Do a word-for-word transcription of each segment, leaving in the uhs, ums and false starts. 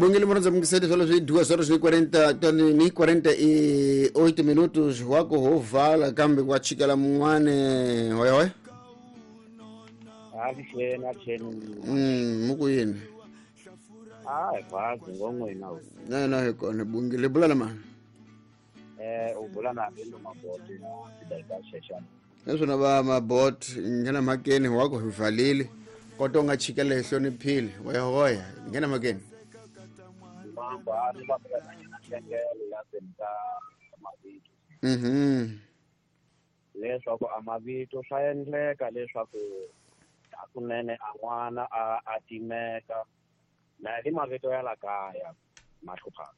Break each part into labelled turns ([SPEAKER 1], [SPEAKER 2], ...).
[SPEAKER 1] Bongele mwanzo mkisedi solo zwi duas horas e quarenta ni quarenta e oito minutos wako hovala kambe kwa chikala mwane hoy hoy.
[SPEAKER 2] Avuxeni avuxeni.
[SPEAKER 1] Mm muku yini?
[SPEAKER 2] Ah, vazi ngongwena.
[SPEAKER 1] Na na hi kona bongele bula na mani.
[SPEAKER 2] Eh u bula na Bindo Maboti na Sidaika Sheshana.
[SPEAKER 1] Naswona va mabot nghena mhakeni wako hi valile kodwa u nga chikela hi hloniphile hoya hoya nghena mhakeni. Mhm.
[SPEAKER 2] Leswaku a mavito swa endleka leswaku hakunene a n'wana a a timeka na hi mavito ya la kaya mahluphaka.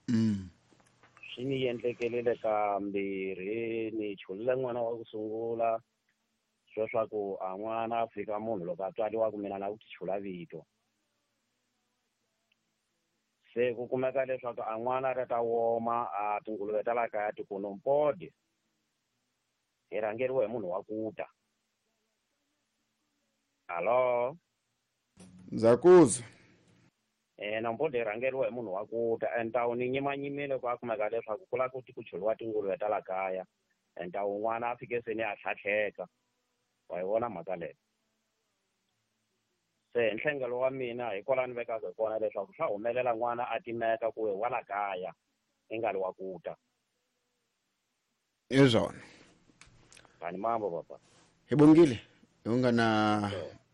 [SPEAKER 1] Mm.
[SPEAKER 2] Swi ni endlekelile kambirhi ni chulile n'wana wa ku sungula sweswaku a n'wana a fika munhu loko a tswariwa ku mina na ku ti chula vito. Se ku kumeka leswaku a n'wana ri ta woma a tinguluve ta la kaya ti ku nompodi hi rhangeriwe hi munhu wa ku ta. Alo
[SPEAKER 1] ndza ku
[SPEAKER 2] eh nompodi hi rhangeriwe hi munhu wa ku ta entawu ni nyimanyimile ku a kumeka leswaku ku lava ku ti ku churiwa tinguluve ta la kaya entawu n'wana a fike se ni a tlhatlheka wa yi vona mhaka leyo. Se nhlengelo wa mina hi kwala ni vekaka hi kona leswaku swa humelela n'wana a timeka ku wa la kaya i nga ri wa ku ta.
[SPEAKER 1] Hi swona.
[SPEAKER 2] Kani mambo papa.
[SPEAKER 1] Hi bongile hi nga na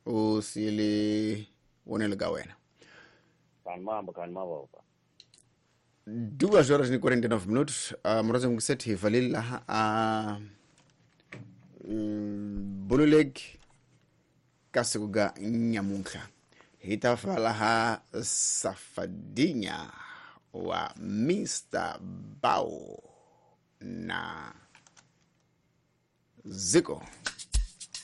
[SPEAKER 1] u siyele vonelo ka wena.
[SPEAKER 2] Kani mambo kani mambo papa.
[SPEAKER 1] Duas horas e quarenta e nove minutos. Uh, Moroza mkuseti hi valile laha a Bululeg ka siku ga nyamuntlha hi ta fa laha Safadinya wa Mister Bao na Ziko.